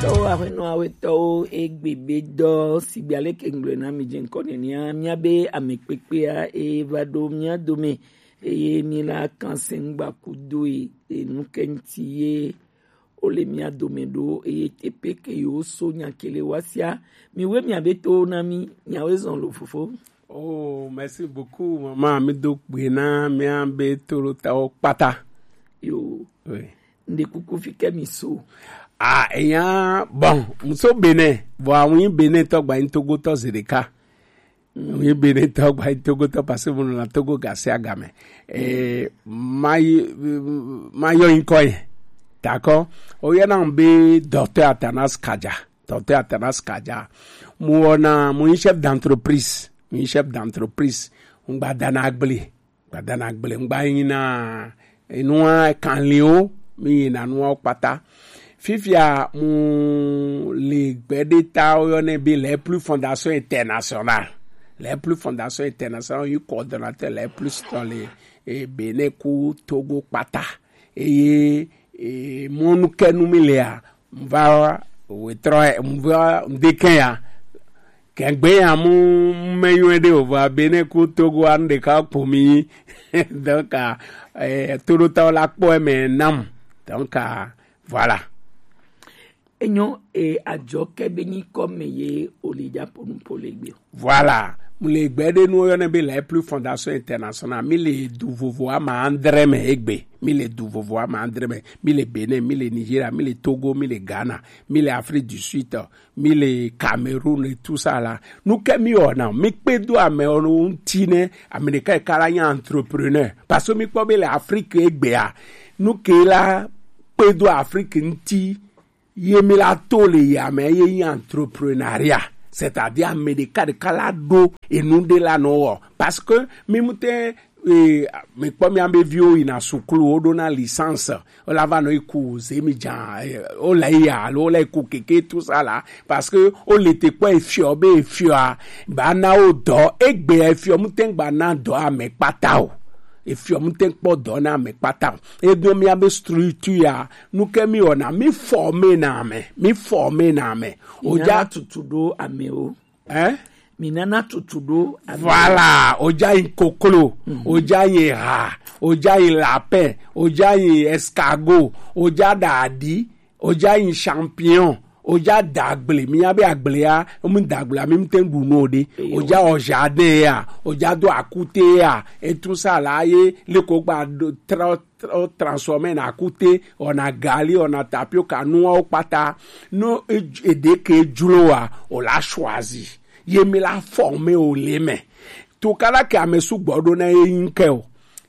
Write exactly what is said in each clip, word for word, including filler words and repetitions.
Tɔwo aƒenɔ awetɔwo egbe be dɔ sigbe aleke ŋgblɔe na mi dze ŋkɔ nenia, míabe ame kpekpea eva ɖo mía dome eye míla kan sɛŋgba kudoe enu ke ŋuti ye wole mía dome ɖo eye teƒe ke yewo so nya ke le wa sia. Miwoe miabe towo na mí, nyawoe zɔn lo fofo. Oh, merci beaucoup, maman. Mi do gbe na míabe toɖotawo kpata. Yo. Oui. Nde kuku fi ke mi so. Ah, eya, bon, muso Benin, bon, awon Benin tɔ gba yin Togo tɔ zedeka. Awon Benin tɔ gba yin Togo tɔ parce que mo na Togo gasi agame. Eh, ma yi, ma yo yin ko ye. D'accord? O ye na be docteur Atanas Kaja. Docteur Atanas Kaja. Mo na mo yin chef d'entreprise. Mo yin chef d'entreprise. Ngba dana gble. Gbadana gble ŋgba yina enua kanliwo, mi yina nuawo kpata. Fifia mu le gbeɖe ta woyɔnɛ be les plus fondations internationales. Les plus fondations internationales, yi coordonnateur les plus dans le, eh, Benin ku Togo kpata. Eye, eh, mɔnu ke nu mi lea, mva wetrɔ, mva ndeke ya. Kɛgbe ya mu me yɔe ɖe o, vɔ Benin ku Togo anu ɖeka kpo mi. Donc, ah, eh, toɖotawo la kpɔ eme nam. Donc, ah, voilà. Enyo, e adzɔ ke be nyi kɔ me ye o le dza po nu po le gbe. Voilà. Mu le gbe ɖe nu yɔnɛ be les plus fondations internationales. Mi le du vovo ama andre me egbe. Mi le du vovo ama andre me. Mi le Benin, mi le Nigeria, mi le Togo, mi le Ghana, mi le Afrique du Sud, mi le Cameroun et tout ça là. Nu ke mi wɔna, mi kpe do amewo ŋuti ne ame ɖeka ɖeka la nye entrepreneur. Parce que mi kpɔ be le Afrique egbea, nu ke la kpe do Afrique ŋuti ye mi la to le yame ye nye entrepreneuriat. C'est-à-dire ame ɖeka ɖeka la ɖo enu ɖe la nɔ wɔ. Parce que mi mu te, eh, mi kpɔ mi ame viwo yina sukulu, wo ɖo na licence, wo la va nɔ yi ku zemi dza, eh, wo la yi ya, alo wo la yi ku keke, tout ça là, parce que wo le te kpɔ efiɔ be efiɔa, ba na wo dɔ, egbe efiɔ mu te gba na dɔ ame kpata o. Efiɔ mu te kpɔ dɔ na ame kpata o. Edo mi abe structure ya, nu ke mi wɔna, mi forme na ame, mi forme na ame. O ja tutu ɖo ame o. Hein? Mi nana tutu ɖo ame. Voilà, o ja yin koklo, o ja yin ha, o ja yin lapin, o ja yin escargot, o ja dadi, o ja yin champignon, o ja dagble, mi ya be agble ya, o mi dagble, mi te ɖu no de. O ja o jardin ya, o ja do akute ya, et tout ça là, ye le ko gba do tra-, tra-, transformer na akute, o na gali, o na tapioca, nuawo kpata. No e, e de ke jlo wa, o la choisi. Ye mi la former o le me. To kala ke ame sugbɔ ɖo na ye yin ke o.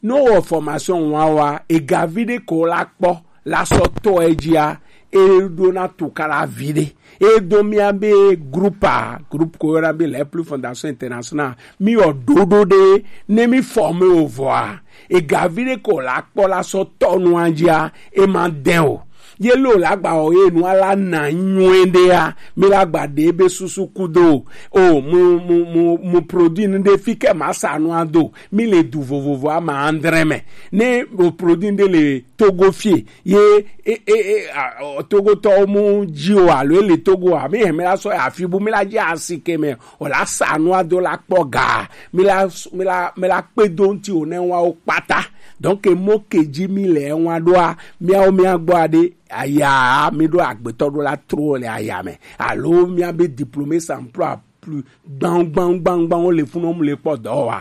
No wɔ formation wa wa, e ga vi ɖe ko la kpɔ, la sɔ to e jia, e ɖo na to kala vi ɖe. E do mia be groupe a, groupe ko yɔna be les plus fondations internationales. Mi wɔ ɖoɖo ɖe, ne mi former o vɔa, e ga vi ɖe ko la kpɔ la sɔ tɔ nua jia, e ma dɛn o. Ye lo la gba o ye nua la na nyuie ɖe ya, mi la gba ɖe be susu kudo. O, mu, mu, mu, mu produit nu ɖe fi ke ma sa nua do. Mi le du vovovo ama andre me. Ne o produit ɖe le Togo fie, ye, e, e, e, a, o, Togo tɔ mu ji o alo e le Togo a, mi hɛn mi la sɔ ya fi bu mi la ji asi ke me. O la sa nua do la kpɔ ga. Mi la, mi la, mi la kpe do ŋuti o ne wa o kpata. Donc, e mo ke ji mi le wa ɖoa, miawo mia gbɔ aɖe, aya, mi ɖo agbetɔ ɖo la tro le aya me. Alo mia be diplômé sans emploi plus gban, gban, gban, gban, wo le funu, wo mu le kpɔ dɔ wa.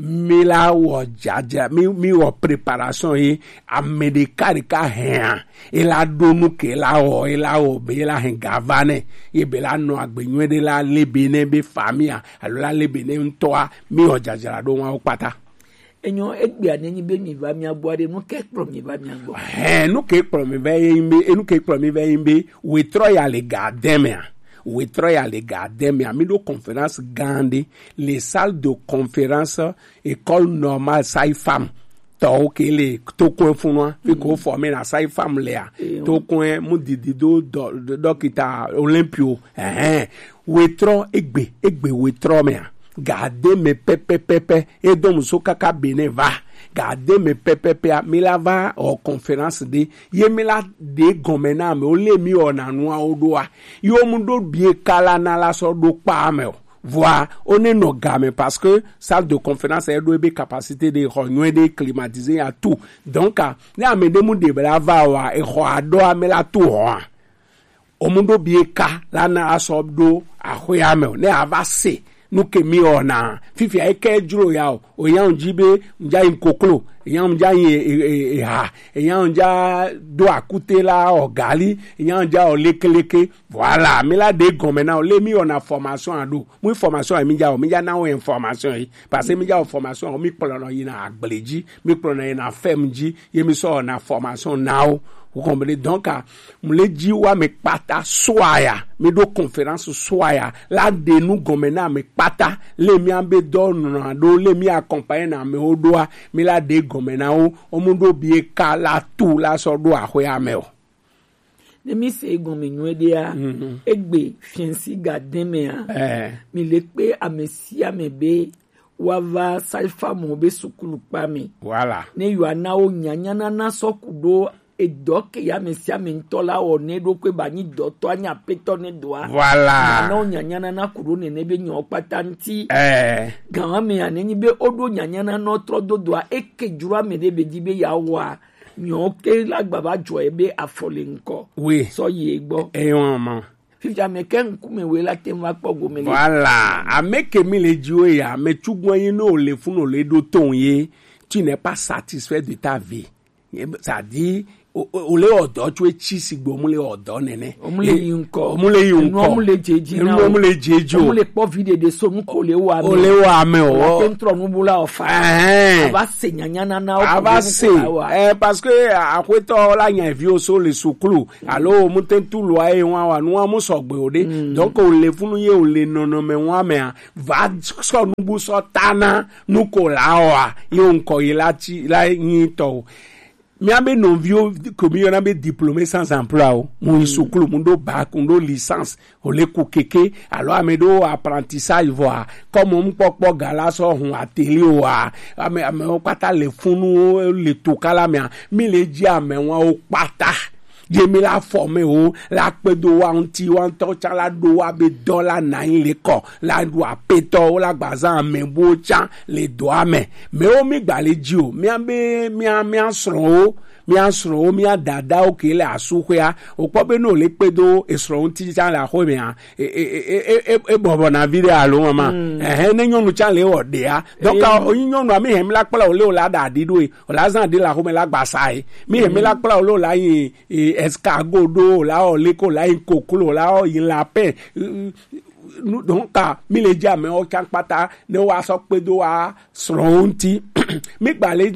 Mi la wɔ jaja, mi, mi wɔ préparation ye, ame ɖeka ɖeka hɛn a, e la ɖo nu ke la wɔ, e la wɔ be, e la hɛn ga va nɛ, ye be la nɔ agbe nyuie ɖe la le be nɛ be famille a, alo la le be nɛ ŋutɔ a, mi wɔ jajra ɖo wa wo kpata. Enyo, egbea ne nyi be mi va mia gbɔ aɖe, nu ke kplɔ mi va mia gbɔ? Hɛn, nu ke kplɔ mi va ye nyi be, enu ke kplɔ mi va ye nyi be, wetrɔ ya le ga dɛ mea. Wetrɔ ya le ga dɛ mea. Mi ɖo conférence gã ɖe le salle de conférence école normale sage-femme tɔwo ke le Tokoe funua, fi ko former na sage-femme lea. Tokoe mu didi do dɔ-, dɔ-, dɔkita Olympio. Ɛhɛn. Wetrɔ egbe, egbe wetrɔ mea. Ga de me pɛpɛpɛpɛ, e do muso kaka Benin va. Gade me pɛpɛpɛa, mi la va wɔ conférence ɖe, ye mi la ɖe gɔme na amewo le mi wɔna nuawo ɖoa, ye wo mu ɖo bie ka la na la sɔ ɖo kpa ame o. Vɔa, wo ne nɔ game parce que salle de conférence e ɖo ebe capacité ɖe, xɔ nyuie ɖe, climatisé ya tout. Donc, ah, ne ame ɖe mu ɖe be la va wa, exɔ aɖo ame la to hɔa. Omuɖo bie ka la na asɔ ɖo axɔea me o. Ne ava se nu ke mi wɔna, fifia eke dzro ya o. Oya ŋdzi be ŋdza yi koklo, eya ŋdza yi e- e- e- eha, eya ŋdza do akute la ɔ gali, eya ŋdza ɔ lekeleke. Voilà, mi la ɖe gɔme na o. Le mi wɔna formation aɖo. Mu formation mi dza o, mi dza na wo information yi. Parce que mi dza o formation o, mi kplɔ nɔ yina agble dzi, mi kplɔ nɔ yina fɛm dzi, ye mi sɔ wɔna formation na wo. Vous comprenez? Donc, ah, mu le dzi wa me kpata soa ya, mi ɖo conférence soa ya, la ɖe nu gɔme na me kpata, le mi abe dɔ nɔ ɖo, le mi accompagner na amewo ɖoa, mi la ɖe gɔme na wo, wo mu ɖo bie ka la tu la sɔ ɖo axɔea me o. Ne mi se egɔme nyuie ɖea, egbe fiɛnsi ga dɛmɛa, eh, mi le kpe ame sia ame be wa va saifa mo be sukulu kpa me. Voilà. Ne yɔ ana wo nyanya nana sɔ ku ɖo edɔ ke ya ame sia ame ŋutɔ la wɔ ne ɖo kpe ba nyi dɔtɔ anyi apetɔ ne doa. Voilà. Ana wo nyanya nana ku ɖo nene be nyɔ kpata ŋuti. Eh. Gan wa me ya ne nyi be o ɖo nyanya nana trɔ do doa, e ke dzro ame ɖe be di be ya wɔa. Nyɔ ke la gba va dzɔ ebe afɔ le ŋkɔ. Oui. Sɔ yi egbɔ. Eyɔn ma. Fifia me ke ŋkume we la te ŋu va kpɔ gome le. Voilà. Ame ke mi le dzi wo ya, ame tsugbɔ yi no le fun o le ɖo ton ye, tu n'es pas satisfait de ta vie. C'est-à-dire, o o- o le ɔdɔ tso etsi si gbe o mu le ɔdɔ nene. O mu le yi ŋkɔ. O mu le yi ŋkɔ. Enu o mu le dze dzi na o. Enu o mu le dze dzi o. O mu le kpɔ vi ɖeɖe so nu ko le wa me. O le wa me o. O la te ŋtrɔ nu bu la o fa. Ɛhɛn. A va se nyanya nana o. A va se. Eh, parce que aƒetɔ la nya viwo so le suklu. Alo o mu te ŋu tu lua ye wa wa nua mu sɔgbe o ɖe. Donc o le funu ye o le nɔnɔme wa mea. Va sɔ nubu sɔ ta na nu ko la wa. Ye o ŋkɔ ye la ti la nyi tɔ o. Mía be nɔviwo ko mi yɔna be diplômé sans emploi o, mu yi sukulu, mu ɖo bac, mu ɖo licence, o le ku keke, alo ame ɖo apprentissage vɔa, comme mu kpɔkpɔ ga la sɔ hun atelier o wa, ame amewo kpata le funu le to kala mea, mi le dzi amewo kpata. Ye mi la former wo, la kpedo wa ŋuti, wa ŋutɔ tsã la ɖo wa be dɔ la na anyi le kɔ, la ɖu apetɔ wo la gba zã ame buwo tsã le dɔa me. Mewo mi gba le dzi o, mia be mia mia srɔ̃wo, mia srɔ̃wo, mia dadawo ke le asuxwea, o kpɔ be no le kpedo esrɔ̃ ŋuti tsã le axɔ mea, e e e e e e bɔbɔ na vi ɖe alo mama. Ɛhɛn, ne nyɔnu tsã le wɔ ɖea. Donc, o nyɔnua mi hɛn mi la kpla o le o la da ɖi ɖo e, o la zã ɖi le axɔ me la gba sa e. Mi hɛn mi la kpla o le o la yi e, escargot ɖo, la wɔ leko, la yi koklo, la wɔ yi lapin. Nu donc, mi le dzi amewo tsã kpata ne wa sɔ kpedo wa srɔ̃wo ŋuti. Mi gba le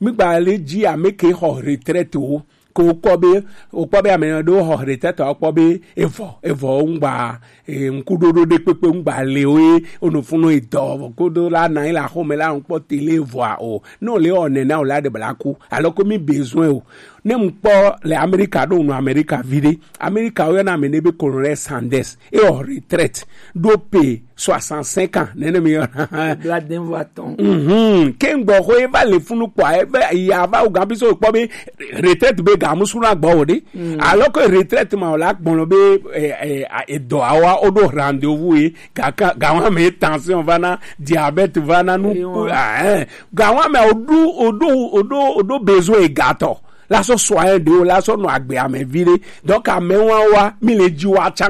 mi gba le dzi ame ke xɔ retraite wo. Ko kpɔ be o kpɔ be ame ɖewo xɔ retraite wo kpɔ be evɔ evɔ ŋgba e, ŋkuɖoɖo ɖe kpekpe ŋgba le o ye, o no funu edɔ kodo la na la xɔme la ŋkpɔ tele vɔa o. Ne o le wɔ nena o la de bla ku. Alors que mi besoin o. Ne ŋkpɔ le Amerika ɖo nu Amerika vi ɖe. Amerika wo yɔna ame ne be Colonel Sanders. E wɔ retraite. Ɖo pe soixante-cinq ans. Nene mi yɔna. Bladen vɔ atɔn. Mhm. Ke ŋgbɔ xo e va le funu kpɔ e va ya va o gan bi so kpɔ be retraite be ga musu na gbɔ o ɖe. Alors que retraite ma o la gbɔn be e e a- edɔ awa o ɖo rendez-vous ye. Gaka gawa me tension va na, diabète va na, nu Ewa. Ah, eh. Gawa me o ɖo o ɖo o ɖo o ɖo besoin egatɔ. La sɔ soin de o la sɔ nɔ agbe ame vi ɖe. Donc ame wa wa mi le dzi wa tsã.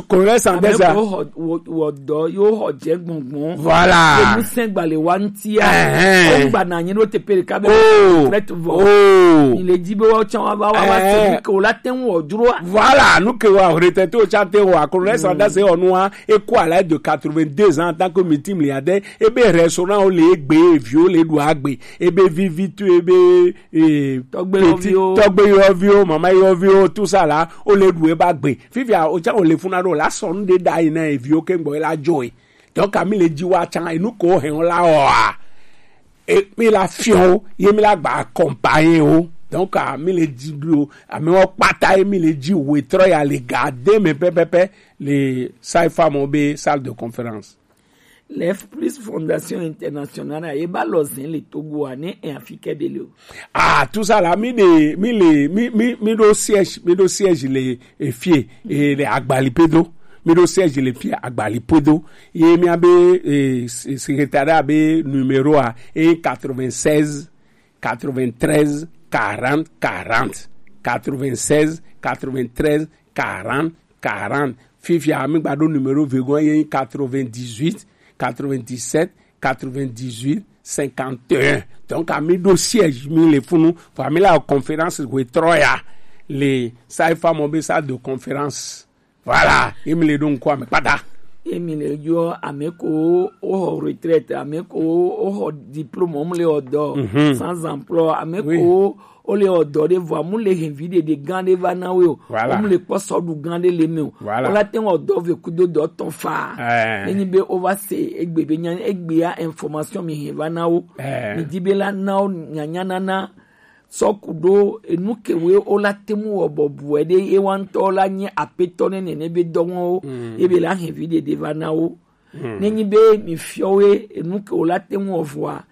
Colonel Sanders a. Ame ko wɔ wɔ wɔ dɔ yo xɔ dze gbɔngbɔn. Voilà. Enu sɛn gba le wa ŋutia. Ɛhɛn. O gba na anyi ɖo teƒe ɖeka be. Oh. Retraite vɔ. Oh. Mi le dzi be wa tsã wa va wa wa se. Ɛhɛn. Bi ke o la te ŋu wɔ dzroa. Voilà, nu ke wa retraite o tsã te wɔ. Colonel Sanders wɔ nua. E ku à l'âge de quatre-vingt-deux ans en tant que multimilliardaire. E be restaurant o le egbe, eviwo le ɖu agbe, e be vivi tu, e be eh, tɔgbe yɔviwo, tɔgbe yɔviwo, mama yɔviwo, tout ça là, o le ɖu e ba gbe. Fifia o tsã o le funa ɖo la sɔ nu ɖe ɖa yi na eviwo ke ŋgbɔ e la dzɔ e. Donc, ami le dzi wa tsã enu ko hɛn o la wɔa. E mi la fiɔ o, ye mi la gba accompagner o. Donc, ami le dzi ɖo, ami wɔ kpata ye mi le dzi wetrɔ ya le ga de me pɛpɛpɛ le saifa mo be salle de conférence. Lef Plus Fondation Internationale a ye ba lɔ zen le Togo a ne en Afrique de l'O. Ah, tout ça là, mi de, mi le, mi, mi, mi do siège, mi do siège le, e fie, e le Agbali Pedo. Mi do siège le fie Agbali Pedo. Ye mi a be, e, se-, secrétariat be numéro a, e quatre-vingt-seize, quatre-vingt-treize, quarante, quarante. Quatre-vingt-seize, quatre-vingt-treize, quarante, quarante. Fifia, mi gba do numéro vegon ye quatre-vingt-dix-huit, quatre-vingt-dix-sept, quatre-vingt-dix-huit, cinquante et un. Donc, a mi do siège, mi le funu, fa mi la conférence we troya. Le, sa e fa mo be sa de conférence. Voilà, e mi le do nko ame pata. E mi le yo ame ko o ho retraite, ame ko o ho diplôme, o mi le odo, mhm, sans emploi, ame, oui, ko o le odo de vo, amu le hen vi de de gan de va na we o. Voilà. O mi le kpɔ sɔ du gan de le me o. Voilà. O la te odo ve ku do do ton fa. Eh. Nenyi be o va se egbe be nya egbe ya information mi hen va na o. Eh. Mi di be la na o nya nya na na. Sɔ ku do enu ke we o la te mu wɔ bɔ bu e de e wa ŋutɔ la nye apetɔ ne nene be dɔ wɔn o. Mm. Ye be la hen vi de de va na o. Mm. Nenyi be mi fiɔ we enu ke o la te mu wɔ vɔa.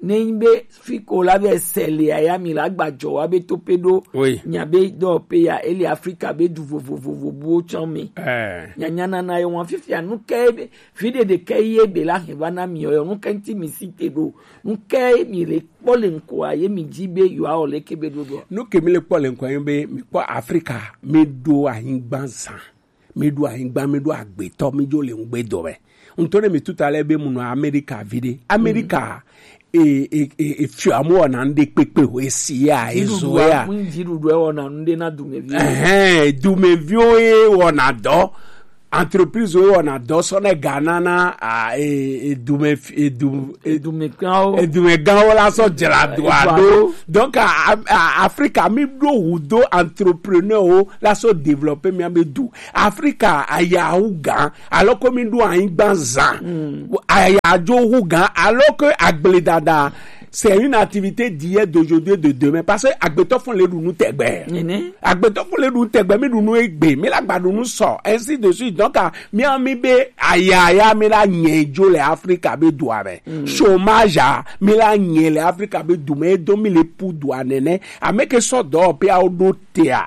Nenyi be fi ke o la be sɛ le aya mi la gba jɔ wa be to pe do. Oui. Nya be dɔ pe ya e le Afrika be du vovovovo bu o tsɔn mi. Eh. Nya nya na na ye wɔn fifia nu ke be fi de de ke ye be la hen va na mi o nu ke ŋti mi si te do. Nu ke mi le kpɔ le ŋkɔa ye mi dzi be yewoawɔ leke be ɖoɖoa? Nu ke mi le kpɔ le ŋkɔa ye be mi kpɔ Afrika mi ɖo anyigba zã, mi ɖo anyigba, mi ɖo agbetɔ, mi dzo le ŋugbe dɔ me. Ŋutɔ ne mi tuta le be mu nɔ Amerika vi ɖe. Amerika, mm, e, e, e, e fiɔ amu wɔna nu ɖe kpekpe o, e si ya, e zo ya. Dziɖuɖua, ŋ dziɖuɖua wɔna nu ɖe na dumeviwo. Ɛhɛn, dumeviwo ye wɔna dɔ. Entreprise wo wɔna dɔ sɔ ne Ghana na, a, e, e, dume, e, du, e, Edumeganwo. Edumeganwo la sɔ dzra dua ɖo. Donc, a, a, Afrika mi ɖo wu do entrepreneur wo la sɔ développer mia be du. Afrika aya wu gan, alors que mi ɖo anyigba zã. Mm. Aya dzo wu gan, alors que agbledada, c'est une activité d'hier, d'aujourd'hui et de demain. Parce que agbetɔ fun le ɖu nu tɛgbɛ. Nene. Agbetɔ fun le ɖu nu tɛgbɛ, mi ɖu nu egbe, mi la gba ɖu nu sɔ, ainsi de suite. Donc, a, mi a mi be aya ya mi la nyɛ dzo le Afrika be dua me. Mm. Chômage a, mi la nyɛ le Afrika be du me, e do mi le pu dua nene. Ame ke sɔ dɔ pe a o ɖo te a.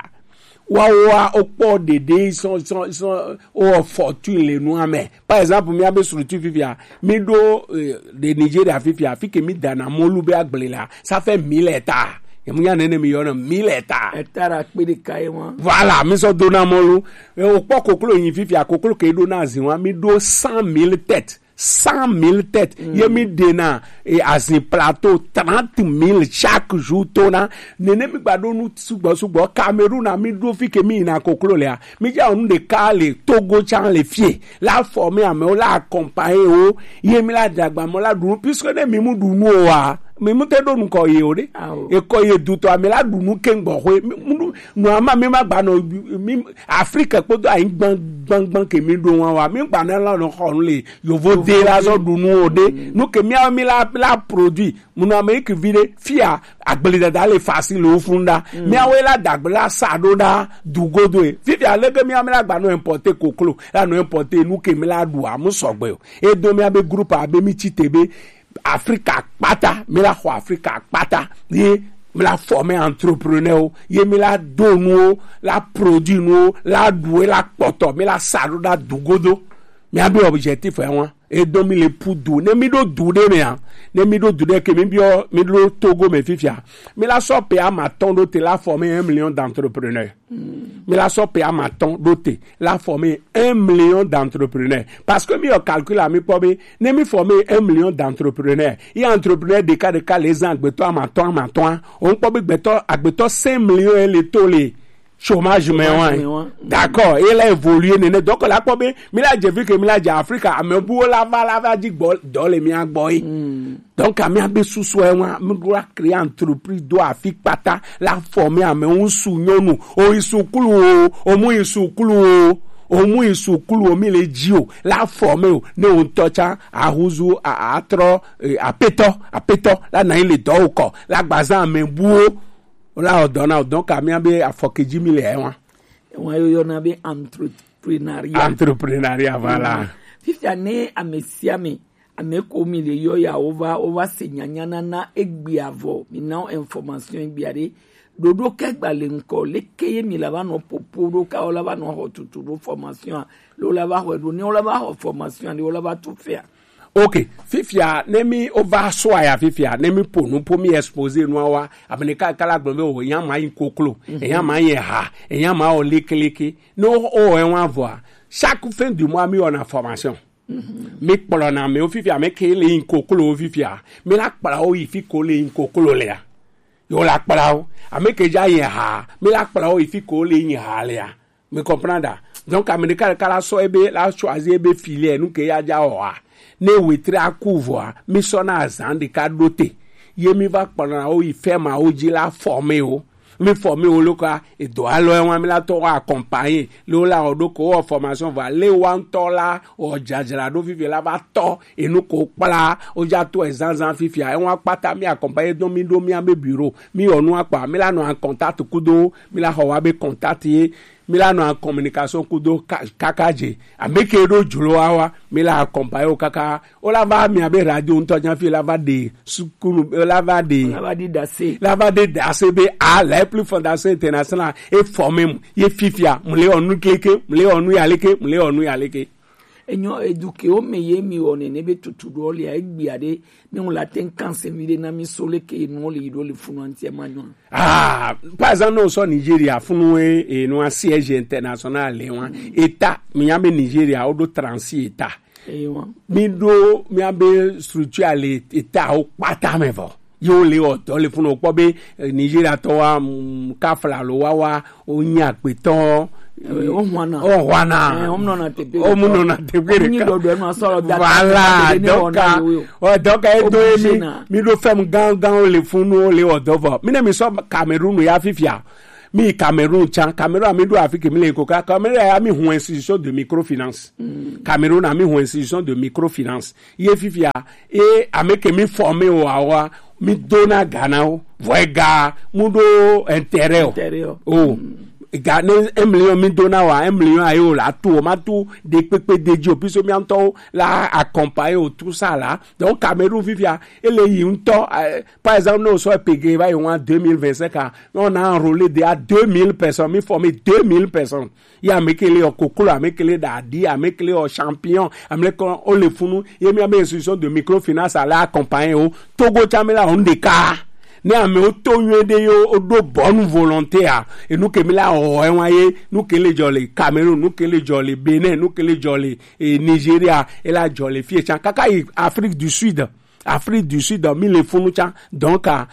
Wawoa, wokpɔ ɖeɖe sɔ, sɔ, sɔ, wowɔ fortune le nua me. Par exemple, mía be structure fifia, mi ɖo, eh, de Nigeria fifia, fi ke mi dana mɔlu be agble la, ça fait mille hectares. Ye mu nya nene mi yɔna mille hectares. Hectare akpe ɖeka ye wa. Voilà, mi sɔ dona mɔlu. Eh, wokpɔ koklo yin fifia, koklo ke ɖo na azin wa, mi ɖo cent mille têtes. Cent mille têtes. Mm. Ye mi ɖena, e, azin plateau trente mille chaque jour tona. Nene mi gba ɖo nu sugbɔ sugbɔ. Cameroun a mi ɖo fi ke mi yina koklo lea. Mi dza nu ɖeka le Togo tsan le fie. La former amewo, la accompagner wo. Ye mi la dagba mɔ la ɖu nu. Puisque ne mi mu ɖu nu o wa, mi mu te ɖo nukɔ ye o ɖe. Ao. Ekɔ ye dutɔ, ame la ɖu nu ke gbɔ xwe. Mi, mu ɖu, nu ama mi ma gba nɔ, mi, Afrique kpodo anyi gbangban ke mi ɖo wa wa. Mi gba na la nɔ xɔ nu le yovo de la zɔ ɖu nu o ɖe. Mm. Nu ke mía mi la, la produit. Mu nɔ Amérique vi ɖe, fia, agbledada le facile o fun ɖa. Mm. Mía we la dagbe la sa ɖo ɖa, du godo e. Fifia leke mía mi la gba nɔ importer koklo, la nɔ importer nu ke mi la ɖu a, mu sɔgbe o. E do mía be groupe a be mi tsi te be, Afrika kpata, mi la xɔ Afrika kpata. Ye mi la former entrepreneur o, ye mi la do nu o, la produit nu o, la ɖu e la kpɔtɔ, mi la sa ɖo ɖa du godo. Mía be objectif e wa. E do mi le pu du. Ne mi ɖo du ɖe mea, ne mi ɖo du ɖe ke mi biɔ, mi ɖo Togo me fifia. Mi la sɔ pe ama tɔn ɖo te la former un million d'entrepreneurs. Mi la sɔ pe ama tɔn ɖo te la former un million d'entrepreneurs. Parce que mi yɔ calcul a mi kpɔ be, ne mi former un million d'entrepreneurs, ye entrepreneur ɖeka ɖeka le zan agbetɔ ama tɔn ama tɔn a, o kpɔ be gbetɔ, agbetɔ cinq millions e le to le chômage me wa. Chômage me wa. D'accord, e la évoluer nene. Donc la kpɔ be, mi la dze fi ke mi la dze Afrika, ame buwo la va, la va dzi gbɔ, dɔ le mía gbɔ ye. Mm. Donc, a mía be susu e wa, mi ɖo la créer entreprise do afi kpata, la former ame ŋusu nyɔnu, o yi sukulu o, o mu yi sukulu o, o mu yi sukulu o, mi le dzi o, la former o, ne o ŋutɔ tsa, a huzu, a, a trɔ, eh, apetɔ, apetɔ, la na yi le dɔ o kɔ, la gbazan ame buwo, o la o dɔ na o, donc, a mía be afɔke dzi mi le e wa. Ewa yo yɔna be entrepreneuriat. Entrepreneuriat, voilà. Mm. Fifia ne ame sia ame Ame ko mi le yɔ ya wo va, wo va se nyanya nana egbe avɔ, mi na wo information egbe aɖe. Ɖoɖo ke gba le ŋkɔ, leke ye mi la va nɔ popo ɖo ka wo la va nɔ xɔ tutu ɖo formation a, lo la va xɔe ɖo, ne wo la va xɔ formation a, ne wo la va tu fea? Ok, fifia, ne mi wo va sɔ ya fifia, ne mi po nu po mi exposer nua wa, ame ɖeka ɖeka la gblɔ be o, enya ma yi koklo, enya ma yi ha, enya ma o leke leke. Ne wo, wo wɔ enu avɔa, chaque fin du mois mi wɔna formation. Mi kplɔna amewo fifia, ame ke le yin koklo fifia, mi la kpla wo yi fi ko le yin koklo lea. Yo la kpla wo. Ame ke ja yin ha, mi la kpla wo yi fi ko le yin ha lea. Mi comprendre? Donc, ame ɖeka ɖeka la sɔ ebe, la choisir ebe filière, nu ke ya ja wɔa. Ne wetri aku vɔa, mi sɔna azan ɖeka ɖo te. Ye mi va kplɔna wo yi ferme wo ji la former wo. Mi former wo lo ka, edo alɔ wa mi la tɔ wa accompagner. Le wo la o ɖo ko wɔ formation va. Le wa ŋutɔ la o jajra ɖo fifi la va tɔ. Enu ko kpla, o ja to ezanzan fifia. E wa kpata mi accompagner do mi ɖo mi abe bureau. Mi o nu akpa, mi la nɔ en contact kudo, mi la xɔ wa be contact ye. Mi la nɔ en communication kudo ka-, kaka je. Ame ke ɖo jlo wa wa, mi la accompagner wo kaka. O la va mi abe radio ŋutɔ nya fi la va de sukulu, o la va de. La va de dase. La va de dase be a la plus fondation internationale e former mu. Ye fifia, mu le onu kleke, mu le onu ya leke, mu le onu ya leke. Enyo eduke o me ye mi o ne ne be tutu ɖo le egbe aɖe, mi ŋu la te ŋ kan se mi ɖe na mi so leke nu le yi ɖo le funu anti ma nyɔ. Ah, par exemple, no so Nigeria, funu e, e no siège international le wa. État, mi ya be Nigeria, o do trente-six états. Ewa. Mi do, mi ya be structure le état o kpata me vɔ. Yo le o to le funu kpɔ be, eh, Nigeria to wa, mm, kafla lo wa wa, o nya pe to. Eh, o hwana. O hwana. Eh, o mno na tepe. O mno na tepe. O nyi do do no so da. Voilà, donc, ah, o donc, e do mi, mi do fem gan gan o le funu o le o do vɔ. Mi ne mi so Cameroun ya fifia. Mi Cameroun tsan, Cameroun a mi ɖo afi ke mi le ko ka, Cameroun a mi hun institution de microfinance. Cameroun a mi hun institution de microfinance. Ye fifia, e ame ke mi former o awa, mi dona ga na o, vɔe ga, mu ɖo intérêt o. Intérêt o. O, ga ne un million mi dona wa, un million ayo la tu, o ma tu de pepe de jo, puisque mi anto la accompagner o tout ça là. Donc, Cameroun fifia, e le yi ŋutɔ, eh, par exemple, nous sommes payés, va y avoir deux mille vingt-cinq ans, on a enrôlé déjà deux mille personnes, mi former deux mille personnes. Ya ame ke le o koklo, ame ke le dadi, ame ke le o champion, ame ke o le funu, ye mi ame institution de microfinance a la accompagner o. Togo tsa mi la o nde ka. Ne ame o to nyuie ɖe yo, o ɖo bonne volonté a. E nu ke mi la o, e wa ye, nu ke le jɔ le Cameroun, nu ke le jɔ le Bénin, nu ke le jɔ le, e, Nigeria, e la jɔ le fie tsa. Kaka yi Afrique du Sud. Afrique du Sud, mi le funu tsa. Donc, ah,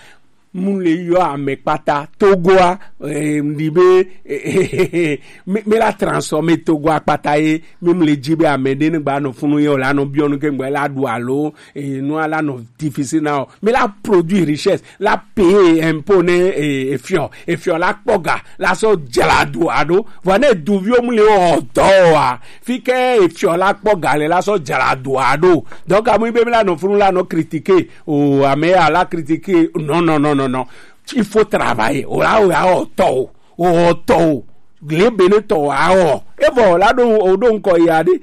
mu le yɔ ame kpata. Togo a, eh, ndi be, eh, mi, mi la transformer Togo a kpata ye, mi mu le ji be ame ɖe ne gba nɔ funu ye, o la nɔ biɔ nu ke ŋgba la ɖu alo, eh, nu a la nɔ difficile na o. Mi la produit richesse, la payer impôt ne, eh, efiɔ, efiɔ la kpɔ ga, la sɔ jla du aɖo. Vɔ ne duviwo mu le wɔ dɔ wa, fi ke efiɔ la kpɔ ga le la sɔ jla du aɖo. Donc, amu be mi la nɔ funu la nɔ critiquer. O, ame ya la critiquer. Non, non, non, non, non. Il faut travailler. O la, o ya o tɔ o. O tɔ o. Le bene tɔ a o. E vɔ, o la ɖo, o ɖo ŋkɔ ya ɖe.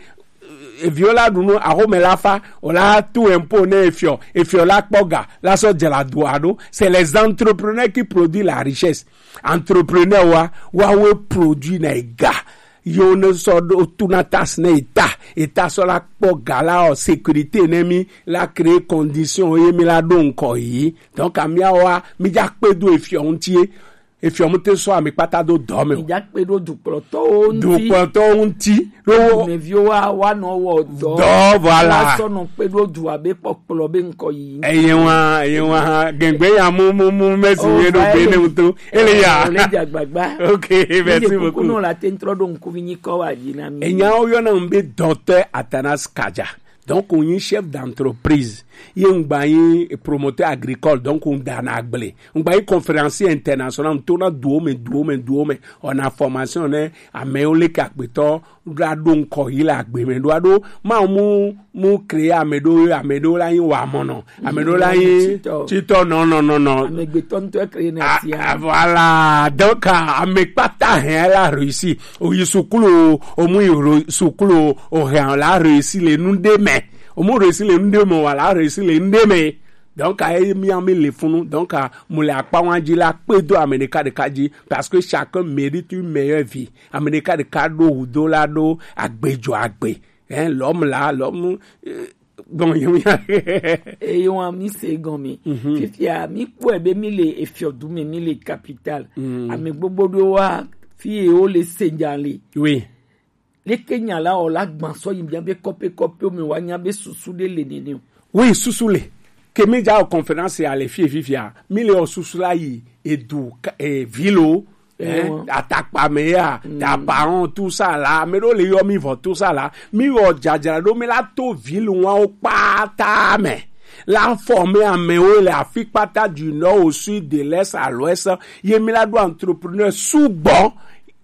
Eviwo la ɖu nu, axome la fa, o la tu impôt ne efiɔ, efiɔ la kpɔ ga, la sɔ jla du aɖo. C'est les entrepreneurs qui produisent la richesse. Entrepreneur wa, wa we produit na ega. Yo ne sɔ ɖo tu na taxe ne eta, eta sɔ la kpɔ ga la o sécurité ne mi la créer condition ye mi la ɖo ŋkɔ yi. Donc, amia wa, mi ja kpe do efiɔ ŋuti ye. Efiɔ mu te sɔ ame kpata do dɔ me o. Mi ja kpe do dukplɔtɔwo ŋuti. Dukplɔtɔwo ŋuti. Ɖo dumeviwo wa, wa nɔ wɔ dɔ. Dɔ, voilà. Wa sɔ nɔ kpe do du abe kpɔkplɔ be ŋkɔ yi. Eye wa, eye wa, gɛgbɛ ya mu, mu, mu, merci ye ɖo be ne ŋuto. Ele ya. O le dza gbagba. Ok, merci beaucoup. Kuku no la te ŋtrɔ ɖo ŋkuvi nyi kɔ wa dzi na mi. Enya wo yɔna ŋu be docteur Athanase Kadja. Donc, on est chef d'entreprise. Ye ŋgba yi promoteur agricole, donc on dana agble. Ŋgba yi conférencier international, on tourne duo me, duo me, duo me. On a formation ne, amewo le ka gbetɔ, ɖo aɖo ŋkɔ yi le agbe me, ɖo aɖo, ma mu, mu créer ame ɖo, ame ɖo la yi wa mɔ nɔ. Ame ɖo la yi titɔ. Titɔ, non, non, non, non. Amegbetɔ ŋutɔ créer na tia. Ah, voilà. Donc, ah, ame kpata hɛn la réussi. O yi sukulu, o mu yi ro-, sukulu, o hɛn la réussi le nu ɖe me. O mu réussi le nuɖe me wa la réussi le nuɖe me. Donc a ye mi ami le funu. Donc a mu le akpa wan ji la kpe do ame ɖeka ɖeka ji, parce que chacun mérite une meilleure vie. Ame ɖeka ɖeka ɖo wu do la ɖo agbe jo agbe. Hein, l'homme là, l'homme, euh, bon, il y a- Eye wan mi se gɔme. Fifia mi kpɔe be mi le efiɔdu me, mi le capital. Ame gbogbo ɖo wa fi ye wo le se nya le. Oui. Leke nya la o la gban sɔ yi mia be kɔpe kɔpe me wa nya be susu ɖe le nene o. Oui, susu le. Ke mi ja o conférence ya le fie fifia. Mi le o susu la yi edu ka- eh, vilo. Eh, atakpa me ya, ta parents, tout ça là, mais donc les yomi vont tout ça là, mi o jajara do mi la to ville wan o kpata me. La former amewo le afi kpata du nord au sud, de l'est à l'ouest, ye mi la do entrepreneur sous bon,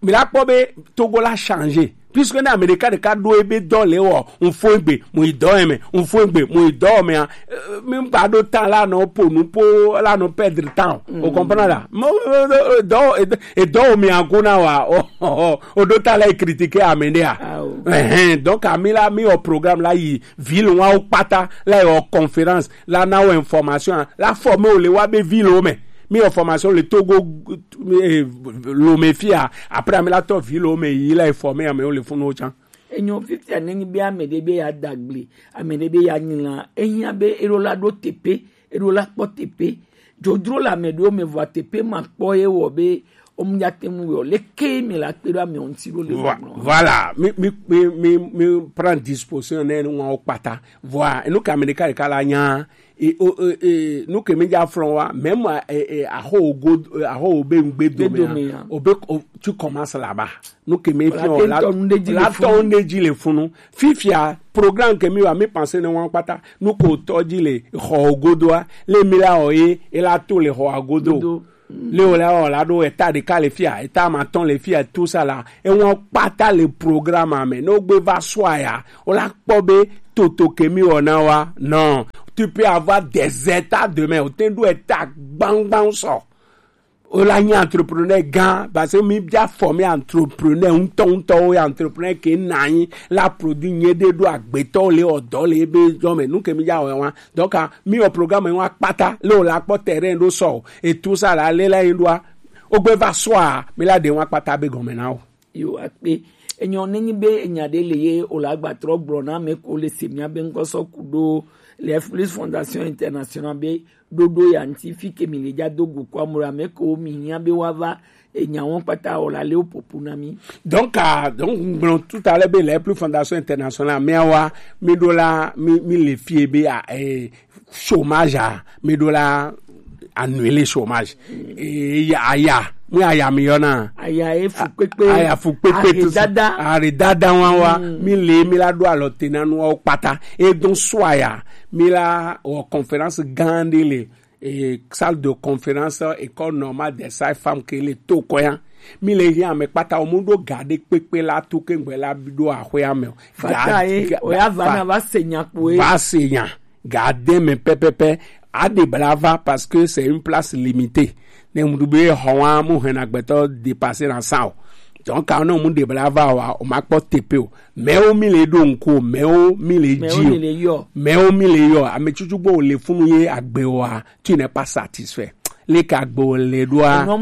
mi la kpɔ be Togo la changer. Puisque na Amerika ɖeka ɖo ebe dɔ le wɔ, un fo egbe, mu yi dɔ eme, un fo egbe, mu yi dɔ eme a, eh, mi gba ɖo tan la nɔ po nu po la nɔ perdre temps. O comprendre la? Mo, eh, eh, dɔ, eh, eh, dɔ o mi ago na wa, o, o, o, o ɖo ta la critiquer ame ɖe a. Ah, oh. Eh, eh, donc, ami la, mi o programme la yi ville wan o kpata, la yi o conférence, la na o information, la former o le wa be ville o me. Mi o formation le Togo, eh, lo me fia. Après, ami la to ville o me yi la former ame o le funu o chan. Enyo fifia ne nyi be ame ɖe be ya dagble, ame ɖe be ya nyla, ehiã be eɖo la ɖo teƒe, eɖo la kpɔ teƒe. Dzodzro le ame ɖewo me vɔa teƒe ma kpɔ ye wɔ be o mu ya te ŋu wɔ. Leke mi la kpe ɖo ame ŋuti ɖo le Voi- gbɔgblɔ. Voilà, mi, mi, mi, mi, mi prend disposition ne nu ŋua kpata. Voilà, enu ka mi ɖeka ɖeka la nya, e, o, e, e, nu ke mi dza flɔ wa, même, e, e, aho go, e, aho be ŋgbe dome, dome, ya. O be, o, tu commences là-bas. Nu ke mi fi o la, la tɔ nu ɖe dzi le funu. Fifia, programme ke mi wa, mi pense ne wan kpata. Nu ko tɔ dzi le xɔ godoa, le mi la o ye, e la to le xɔ godo. Godo. Le o la o la ɖo eta ɖeka le fia, eta ma tɔn le fia, tout ça là. E wan kpata le programme me. No gbe va sɔ ya, o la kpɔ be toto ke mi o na wa. Non. Tu peux avoir des états demain. O te ɖo eta gbangban sɔ. O la nyi entrepreneur gã, parce que mi bia former entrepreneur ŋutɔ ŋutɔ wo, entrepreneur ke na anyi la produit nye ɖe ɖo agbetɔ le o dɔ le ebe dɔ me. Nu ke mi dza wɔ wa. Donc, ah, mi o programme wa kpata, le o la kpɔ terrain ɖo sɔ, et tout ça là, le la yin ɖoa, o gbe va sɔ a, mi la ɖe wa kpata be gɔme na o. Yo akpe. Enyo ne nyi be enya ɖe le ye o la gba trɔ gblɔ na ame ko le se mia be ŋkɔ sɔ ku ɖo le F plus Fondation International be ɖoɖo ya ŋti fi ke mi le dza do go ko amu ame ko mi hiã be wa va enya wɔn kpata o la le o popo na mi. Donc, ah, donc, gblɔ tout à l'heure be le F plus Fondation International mia wa, mi ɖo la, mi, mi le fie be a, eh, chômage a, mi ɖo la annuler chômage. E, ya, aya, mi aya mi yɔna. Aya e fu kpekpe. Aya fu kpekpe. Ahe dada. Ahe dada wa wa. Mi le mi la ɖo alɔ te na nu wa kpata. E don sɔ ya, mi la o conférence gã ɖe le, e, salle de conférence École normale des sages-femmes ke le to kɔya. Mi le hiã ame kpata o mu ɖo ga ɖe kpekpe la to ke ŋgbe la ɖo axɔa me o. Fata ye, o ya va na va se nya kpo ye. Va se nya. Gardez me pɛpɛpɛ, a ɖe bla va parce que c'est une place limitée. Ne mu ɖu be xɔ wa mu hɛn agbetɔ dépasser na sa o. Donc quand ne mu ɖe bla va wa, o ma kpɔ tepe o. Mais o mi le ɖo ŋku o, mais o mi le dzi o. Mais o mi le yɔ. Ame tsutsu gbɔ o le funu ye agbe wa, tu n'es pas satisfait. Le ka gbe o le ɖoa. Enua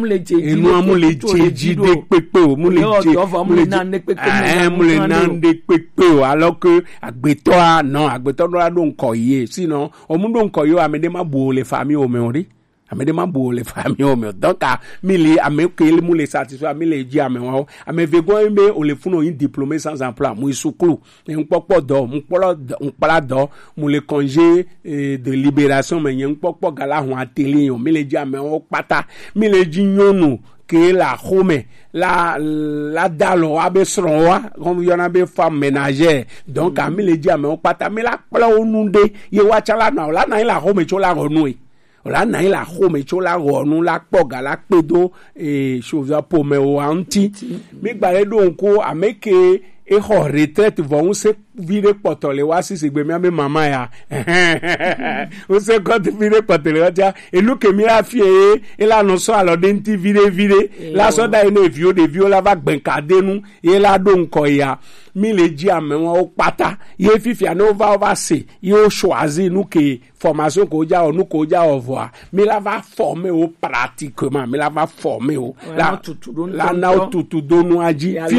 mu le dze dzi ɖe kpekpe o, mu le dze, mu le dze, eh, mu le na ɖe kpekpe o. Alors que agbetɔa, non, agbetɔ ɖo la ɖo ŋkɔ ye. Sinon, o mu ɖo ŋkɔ ye o, ame ɖe ma bu o le famille o me o ɖi. Ame ɖe ma bu o le famille o me o. Donc, ah, mi le, ame ke le mu le satisfait, mi le dzi ame wa o. Ame ve gɔn be o le funu o yin diplômé sans emploi, mu yi suklu. Ŋkpɔkpɔ dɔ, ŋkpla dɔ, ŋkpla dɔ, mu le congé, eh, de libération me, nye ŋkpɔkpɔ ga la hɔn atelier yo, mi le dzi amewo kpata, mi le dzi nyɔnu ke le axome la, la da alɔ wa be srɔ̃ wa, kɔmi yɔna be femme ménagère. Donc, ah, mi le dzi amewo kpata, mi la kpla wo nu ɖe, ye wa tsã la nɔ, la na yi le axome tso la xɔ nu e. O la na yi le axome tso la xɔ nu la kpɔ ga la kpe do, eh, sovia pomewo wa ŋti. Mi gba le ɖo ŋku ame ke e xɔ retraite vɔ ŋu se vi ɖe kpɔtɔ le wa sisi gbe mía be mama ya. Wose kɔnti vi ɖe kpɔtɔ le wa tia. Enu ke mi la fie ye, e la nɔ sɔ alɔ ɖe ŋuti vi ɖe vi ɖe. La sɔ da yi ne viwo ɖeviwo la va gbɛnka de nu, ye la ɖo ŋkɔ ya. Mi le dzi amewo kpata. Ye fifia ne wova, wova se, ye wo choisi nu ke formation ko ja o, nu ko ja o vɔa. Mi la va former wo pratiquement, mi la va former wo. La, la na wo tutu do nua dzi. Fi-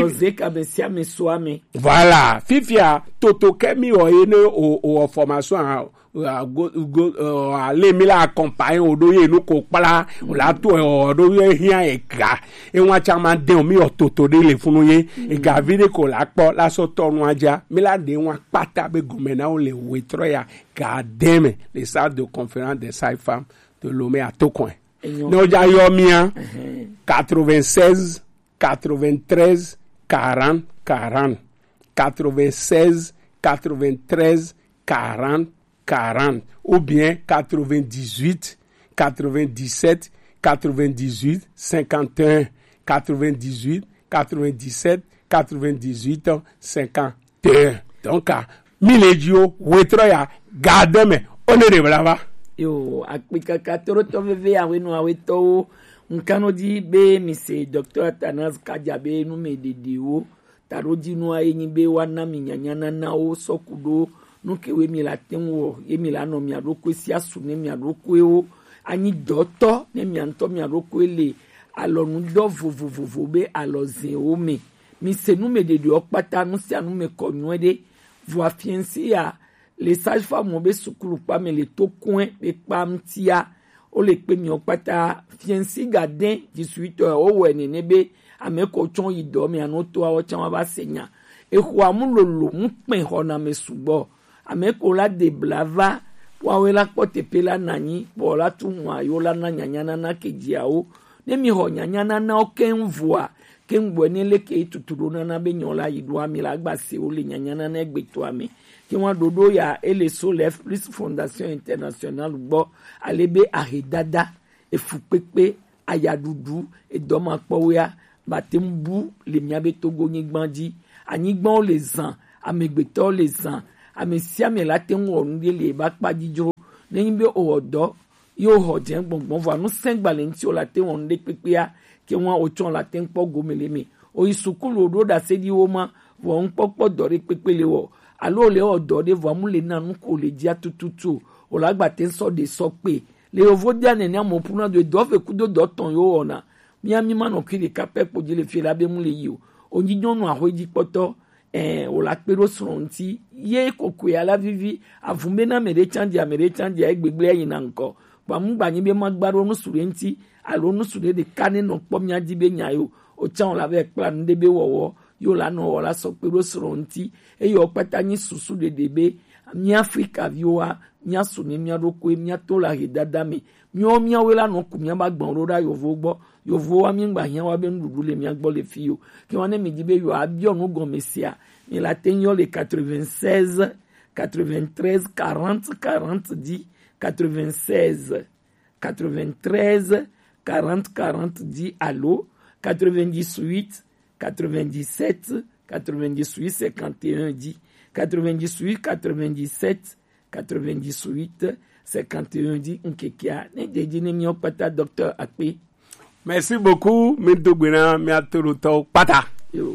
Voilà, fifia toto ke mi wɔ ye ne o, o wɔ formation a, o a go, go, o a le mi la accompagner o ɖo ye nu ko kpla, o la to o ɖo ye hiã e ga. E ŋua tsa ma de o mi wɔ toto ɖe le funu ye. E ga vi ɖe ko la kpɔ la sɔ tɔ nua dza. Mi la ɖe ŋua kpata be gɔme na wo le wetrɔ ya ga de me le salle de conférence des sages-femmes de Lomé à Tocoin. Ne o ja yɔ mia quatre-vingt-seize quatre-vingt-treize quarante quarante, quatre-vingt-seize quatre-vingt-treize quarante quarante, ou bien quatre-vingt-dix-huit quatre-vingt-dix-sept quatre-vingt-dix-huit cinquante et un, quatre-vingt-dix-huit quatre-vingt-dix-sept quatre-vingt-dix-huit cinquante et un. Donc, ah, mi le dzi o, wetrɔ ya ga de me, o ne ɖe bla va. Yo, akpikaka tɔrɔtɔ veve awe nu awe tɔwo. Nkanɔ di be mi se Docteur Athanase Kadja be nu me ɖeɖewo. Taɖo dzi nua ye nyi be wa na mi nyanya nana wo sɔ ku ɖo nu ke we mi la te ŋu wɔ, ye mi la nɔ mia ɖokui si asu ne mia ɖokuiwo. Anyi dɔtɔ ne mia ŋutɔ mia ɖokui le alɔnu dɔ vovovovo be alɔzewo me. Mi se nu me ɖeɖewo kpata, nu sia nu me kɔ nyuie ɖe. Vɔa fiɛnsi ya le sage-femme be sukulu kpa me le to kɔe be kpa ŋutia. Wo le kpe miɔ kpata fiɛnsi ga de dix-huit heures wo wɔ nene be ame ko tsɔ yi dɔ me ano to awo tsã wa va se nya. Exɔ amu lolo mu kpɛ xɔ na me sugbɔ. Ame ko la de bla va, wa we la kpɔ tepe la na nyi, bɔ la tu ŋua yo la na nyanya nana ke dziawo. Ne mi xɔ nyanya nana wo keŋ vɔa, keŋ gbɔe ne leke yi tutu ɖo nana be nyɔ la yi ɖo ami la gba se wo le nyanya nana egbe to ame. Ke wa ɖoɖo ya ele so le F plus Fondation Internationale gbɔ, ale be ahedada, efukpekpe, ayaɖuɖu, edɔmakpɔwea, ba te ŋu bu le mia be Togo nyigba dzi. Anyigbawo le zã, amegbetɔwo le zã, ame sia ame la te ŋu wɔ nu ɖe le eba kpa dzidzro. Ne nyi be owɔ dɔ, ye wo xɔ dze gbɔngbɔn vɔa nu sɛgba le ŋuti o la te ŋu wɔ nu ɖe kpekpea, ke ŋua o tsɔ la te ŋu kpɔ gome le me. O yi sukulu o ɖo ɖase ɖi wo ma, vɔ ŋkpɔkpɔ dɔ ɖe kpekpe le wɔ. Alo le wɔ dɔ ɖe vɔa mu le na nu ko le dzia tututu o. O la gba te ŋu sɔ ɖe sɔ kpe. Le yovo dia nene amo puna do dɔ ve kudo dɔ tɔn yo wɔna. Mia mi ma nɔ kui ɖeka pɛ kpo dzi le fi la be mu le yi o. O nyi nyɔnu axwe dzi kpɔtɔ, eh, o la kpe ɖo srɔ̃ ŋuti. Ye kokoe ala vivi, avun be na ame ɖe tsã dzi, ame ɖe tsã dzi, ayi gbegblẽ ayi na ŋkɔ. Vɔa mu gba nyi be ma gba ɖo nusu ɖe ŋuti, alo nusu ɖe ɖeka ne nɔ kpɔ mia dzi be nya yo. O tsã o la vɛ kpla nu ɖe be wɔwɔ, yo la nɔ wɔ la sɔ kpe ɖo srɔ̃ ŋuti. Eye wo kpata nyi susu ɖeɖe be mia Afrika viwoa, mia su ne mia ɖokui, mia to la he dada me. Miawo miawoe la nɔ ku mia ba gbɔn ɖo ɖa yovo gbɔ. Yovowa mi gba hiã wa be nuɖuɖu le mia gbɔ le fi yo. Ke wa ne mi di be yo abiɔ nu gɔme sia, mi la te yɔ le quatre-vingt-seize quatre-vingt-treize quarante quarante di, quatre-vingt-seize quatre-vingt-treize quarante quarante di alo quatre-vingt-dix-huit quatre-vingt-dix-sept quatre-vingt-dix-huit cinquante et un di, quatre-vingt-dix-huit quatre-vingt-dix-sept quatre-vingt-dix-huit cinquante et un di ŋkekea ne dedzi ne miawo kpata docteur Akpe. Merci beaucoup, mi do gbe na mia to ɖo tɔwo kpata. Yo.